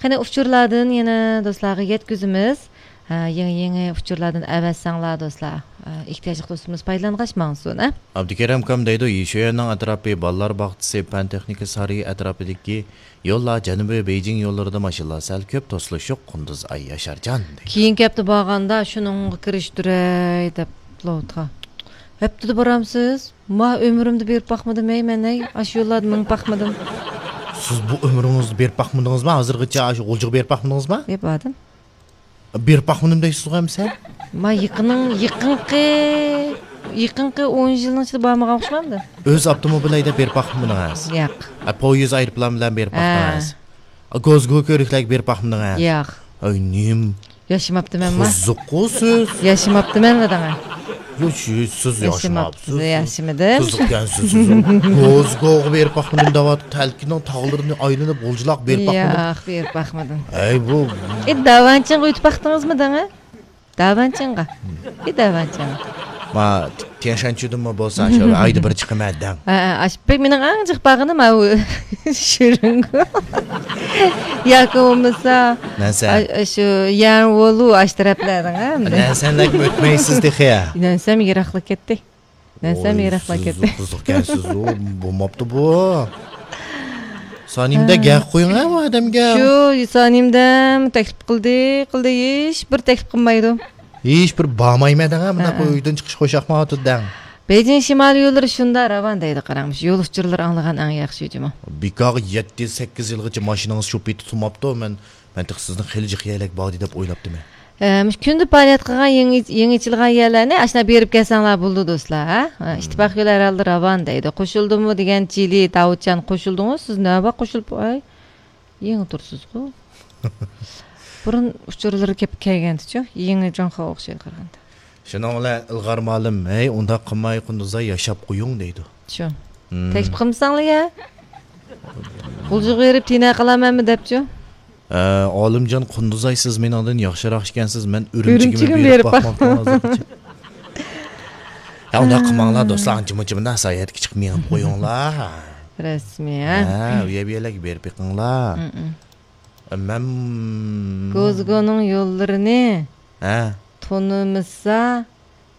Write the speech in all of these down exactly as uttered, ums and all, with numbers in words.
قېنى، ئۇچۇرلاردىن يەنە دوستلارغا يەتكۈزىمىز. ھە، يېڭى، يېڭى ئۇچۇرلاردىن ئەۋەتسەڭلار، دوستلار. ھە، ئېھتىياجلىق دوستىمىز پايدىلانغاچ ماڭسۇن، ھە؟ ئابدۇكېرىم ئاكام دەيدۇ، يىشۈەننىڭ ئەتراپى، بالىلار باغچىسى، پەن تېخنىكا سارىيى ئەتراپىدىكى يوللار، جەنۇبىي بېيجىڭ يوللىرىدا ماشىنىلار سەل كۆپ، توسۇلۇش يوق، قۇندۇز ئاي ياشارجان، دەيدۇ. كېيىنكى ھەپتە بارغاندا شۇنىڭغا كىرىشتۈرەي دەپ لوتقا. ھەپتىدە بارامسىز؟ ما ئۆمرۈمدە بېرىپ باقمىدىم، ھەي، مەن، ھەي، ئاشۇ يوللاردا مېڭىپ باقمىدىم. سىز بۇ ئۆمرىڭىزدە بېرىپ باقمىدىڭىزما؟ ھازىرغىچە ئاشۇ غۇلجىغا بېرىپ باقمىدىڭىزما؟ ياق، باردىم. بېرىپ باقمىدىم دەيسىزغۇ ئەمىسە؟ ما يېقىنىڭ، يېقىنقى، يېقىنقى ئون يىلنىڭ ئىچىدە بارمىغان ئوخشىمامدۇ؟ ئۆز ئاپتوموبىل ھەيدەپ بېرىپ باقمىدىڭىز؟ ياق. ئە، پويىز، ئايروپىلان بىلەن بېرىپ ھە. باقتىڭىز؟ ئە، گوزگو كۆۋرۈكلەرگە بېرىپ باقمىدىڭىز؟ ياق. ئاي نېمە؟ ياشىماپتىمەنما؟ قوزۇققۇ سىز. ياشىماپتىمەنلا دەڭە. يو، سىز، سىز ياشىماپسىز. ياشىماپسىز، ياشىمىدىم. قىزىقكەنسىز سىز. گوزگوغا بېرىپ باقمىدىم دەۋاتىپ، تەلكىنىڭ تاغلىرىنى ئايلىنىپ، غۇلجىلاق بېرىپ باقمىدىم. ياق، بېرىپ باقمىدىم. ئەي بۇ. ئى، داۋانچىڭغا ئۆتۈپ باقتىڭىزمۇ دەڭە؟ داۋانچىڭغا. ئى، داۋانچىڭغا. ما، تيەنشانچۇدىنمۇ بولسا، شۇ ئايدا بىر چىقىمەن دەڭ. ھە، ھە، ئاش-، بەك مېنىڭ ئەڭ جىق بارغىنىم ئاۋۇ شۈرۈڭگۇ. ياكى بولمىسا، نەنسەن. ئا-، شۇ يەنۋولۇ ئاش تەرەپلەردىڭ، ھە؟ نەنسەنلەرگە ئۆتمەيسىز تېخى. نەنسەم يىراقلا كەتتى. نەنسەم ۋوي، يىراقلا سىز كەتتى. قىزىقكەنسىز، ئۇ بولماپتۇ بۇ. سانىمدە ھە. گەپ قويۇڭ ھە، ئۇ ئادەمگە. شۇ سانىمدەم تەكلىپ قىلدى، قىلدى، ھېچ بىر تەكلىپ قىلمايدۇ. ھېچ بىر بارمايمەن دەڭ، مۇنداق ھە. ئۆيدىن چىقىش خۇشياقمايۋاتىدۇ دەڭ. بېيجىڭ شىمالىي يوللىرى شۇنداق راۋان دەيدۇ، قاراڭ، مۇشۇ يول ئۇچۇرلىرى ئاڭلىغان ئەڭ ياخشى جۇمۇ. بىكارغا يەتتە، سەككىز يىلغىچە ماشىنىڭىز شۇ پېتى تۇرماپتۇ، مەن، مەن تېخى سىزنىڭ خېلى جىق يەرلەرگە باردى دەپ ئويلاپتىمەن. ئە، مۇشۇ كۈندە پائالىيەت قىلغان يېڭى، يېڭى ئېچىلغان يەرلەرنى ئاشۇنداق بېرىپ كەلسەڭلار بولىدۇ، دوستلار، ھە؟ ھە، مم. ئىتتىپاق يولى ھەر ھالدا راۋان دەيدۇ. قوشۇلدىمۇ دېگەن چىلى، داۋۇتجان قوشۇلدىڭۇ؟ سىز نەۋە قوشۇلۇپ، ئاي، يېڭى تۇرسىزغۇ. بۇرۇن ئۇچۇرلىرى كېلىپ كەلگەنتىچۇ، يېڭى جۇڭخۇاغا ئوخشايدۇ قارىغاندا. شۇنىڭ بىلەن ئىلغار مۇئەللىم، ھەي، ئۇنداق قىلماي، قۇندۇزاي ياشاپ قويۇڭ، دەيدۇ. شۇ. مم. تەكلىپ قىلمىساڭلار يا. غۇلجىغا بېرىپ تىنە قالامەنمۇ دەپچۇ. ئە، ئالىمجان قۇندۇزاي، سىز مېنىڭدىن ياخشىراق ئىكەنسىز، مەن ئۈرۈمچىگىمۇ ئۈرۈمچىگىمۇ بېرىپ بېرىپ باقماپتىمەن باقمىدىم. ھازىرغىچە. يا، ئۇنداق قىلماڭلار، دوستلار، ئانچە-مۇنچە مۇنداق ساياھەتكە چىقىپ مېڭىپ قويۇڭلار. رەسمىي، ھە؟ ھە، ئۇ يەر بۇ يەرلەرگە بېرىپ بېقىڭلار. مم. مەن گوزگونىڭ يوللىرىنى ھە. تونۇمىسا،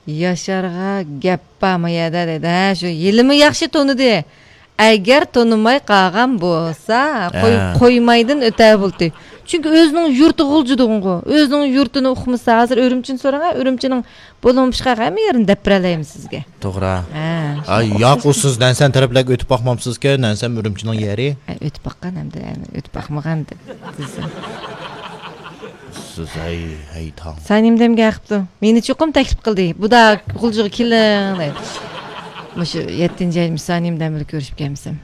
ياشارغا گەپ بارمۇ يەردە دەيدۇ. ھە، شۇ ھېلىمۇ ياخشى تونۇدى. ئەگەر تونۇماي قالغان بولسا، قوي-، ھە. قويمايدىن ئۆتەر بولدى. چۈنكى ئۆزىنىڭ يۇرتى غۇلجىدىغۇ. ئۆزىنىڭ يۇرتىنى ئۇقمىسا، ھازىر ئۈرۈمچىنى سوراڭا، ئۈرۈمچىنىڭ بولۇڭ پىشقاق ھەممە يېرىنى دەپ بېرەلەيمىز سىزگە. توغرا. ھە، ئاي، شۇ ياق، ئۇ سىز نەنسەن تەرەپلەرگە ئۆتۈپ باقمامسىزكەن، نەنسەن ئۈرۈمچىنىڭ يېرى. ئە، ئۆتۈپ باققان ھەمدە، ئۆتۈپ باقمىغان دە-، دېسە. سىز، ھەي، ھەي، تاڭ. سانىمدەمگە قىپتۇ. مېنى چوقۇم تەكلىپ قىلدى. بۇدا غۇلجىغا كېلىڭ دەيدۇ. مۇشۇ يەتتىنچى ئاي مۇشۇ سانىمدەم بىلەن كۆرۈشۈپ كەلمىسەم.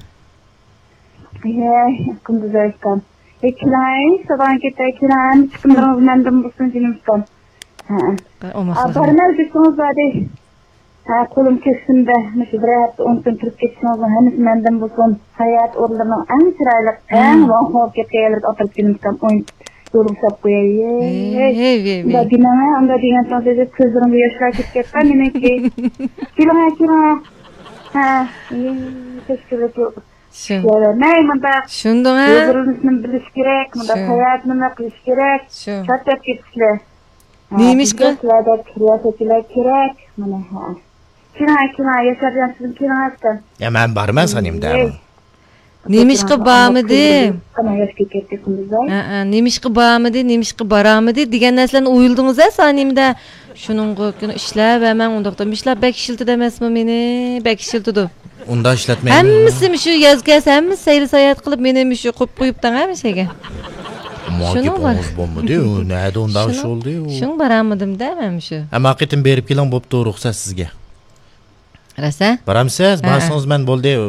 ھەي، قۇندۇز ئاكام. ھەي، كېلىڭ، ساداڭ كېتە، كېلىڭ، ھەممە چىقىملىرىڭىز مەندىن بولسۇن، جېنىم ئۇكام. ھە. ئا، ئوماقلىقى. بارىمەن دېسىڭىز بارىدى. ھە، قولۇم كۆكسۈمدە، مۇشۇ بىر ھەپتە ئون كۈن تۇرۇپ كېتىشىڭىزنىڭ ھەممىسى مەندىن بولسۇن. ساياھەت ئورۇنلىرىنىڭ ئەڭ چىرايلىق، ئەڭ ۋاڭخۇ بولۇپ كەتكەن يەرلىرىگە ئاپىرىپ كېلىمىزكەن، ئوينىتىپ يولغا ساپ قوياي. ھەي، ھەي، ھەي، ھەي. ئۇنداق دېمەڭ، ئۇنداق دېگەن ساڭا سۆزى كۆزلىرىمدە ياشلار كېتىپ كەتكەن مېنىڭكى. كېلىڭە، كېلىڭە. ھە، ھەي، تەشكىللىك يوق. شۇ. مەي مۇنداق شۇندۇڭ ھە؟ يوللىرىمىزنى بىلىش كېرەك، مۇنداق شۇ. ساياھەتنى قىلىش كېرەك. شۇ. شات دەپ كېتىشلە. نېمىشقا؟ بىزدە سىلەردەك رىياسەتچىلەر كېرەك. مانا، ھە. كېلىڭ، كېلىڭ، ياشارجان، سىزمۇ كېلىڭ، ئەسكەن. يا، مەن بارىمەن سانىمدە. ئەي. نېمىشقا بارمىدىم؟ ئانا ياش كېتەتتى، قۇندۇزاي. ھە، ھە، نېمىشقا بارمىدى، نېمىشقا بارالمىدى دېگەن نەرسىلەرنى ئويلىدىڭىز ھە سانىمدە. شۇنىڭغا كۆنۈپ ئىشلەۋەرمەڭ ئۇنداقتا. مۇشۇلار بەك ئىشلىتىدۇ ئەمەسمۇ مېنى؟ بەك ئىشلىتىدۇ. ئۇنداق ئىشلەتمەيمەن. ھەممىسى مۇشۇ ياز كەلسە، ھەممىسى سەيلە ساياھەت قىلىپ، مېنى مۇشۇ قويۇپ قويۇپتىڭ ھە مۇشۇ يەرگە. شۇنىڭ بار. بولمىدى، ئۇ نەدە ئۇنداق ئىش بولدى، ئۇ. شۇنىڭ بارالمىدىم-دە مەن مۇشۇ. ئەمما قېتىم بېرىپ كېلىڭ، بوپتۇ، رۇخسەت سىزگە. راست ھە؟ بارامسىز؟ ھە، ھە. بارسىڭىز مەن بولدى، ئۇ.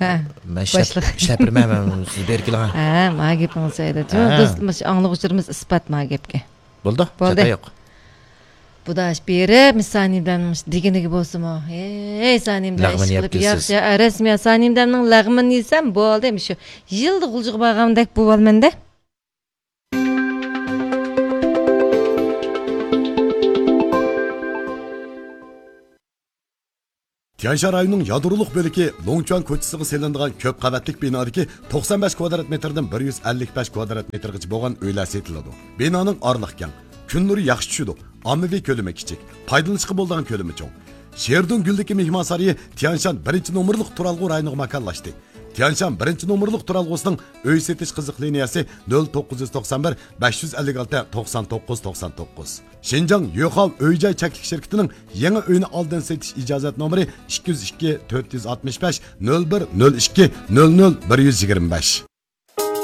ھە. مەن ئىشلەپ، باشلىق. ئىشلەپ بېرىمەن، مەن سىز بېرىپ كېلىڭ. ھە، ما گېپىڭىز جايىدا. ھە. دوست، مۇشۇ ئاڭلىغۇچىلىرىمىز ئىسپات ما گەپكە. بولدى، بولدى. چاتا يوق. بۇدا ئاش بېرىپ، مىس سانىمدەن دېگىنىگە بولسىمۇ. ھەي، سانىمدە ئىش قىلىپ ياخشى، ئە، رەسمىي سانىمدەمنىڭ لەغمىنى يېسەم بولدى، مۇشۇ يىلدا غۇلجىغا بارغاندەك بولۇۋالىمەن-دە. تيەنشان رايونىنىڭ يادرولۇق بۆلىكى لوڭچۈەن كوچىسىغا سېلىنىدىغان كۆپ قەۋەتلىك بىنادىكى توقسان بەش كۋادرات مېتىردىن بىر يۈز ئەللىك بەش كۋادرات مېتىرغىچە بولغان ئۆيلەر سېتىلىدۇ. بىنانىڭ ئارىلىقى كەڭ، كۈن نۇرى ياخشى چۈشىدۇ، ئاممىۋى كۆلىمى كىچىك، پايدىلىنىشقا بولىدىغان كۆلىمى چوڭ. شېردۇڭ گۈلدىكى مېھمانسارىيى تيەنشان بىرىنچى نومۇرلۇق تۇرالغۇ رايونىغا ماكانلاشتى. تيەنشان بىرىنچى نومۇرلۇق تۇرالغۇسىنىڭ ئۆي سېتىش قىزىق لىنىيەسى نۆل توققۇز يۈز توقسان بىر، بەش يۈز ئەللىك ئالتە، توقسان توققۇز، توقسان توققۇز. شىنجاڭ يۆخاۋ ئۆي جاي چەكلىك شىركىتىنىڭ يېڭى ئۆينى ئالدىن سېتىش ئىجازەت نومۇرى ئىككى يۈز ئىككى، تۆت يۈز ئاتمىش بەش، نۆل بىر، نۆل ئىككى، نۆل نۆل، بىر يۈز يىگىرمە بەش.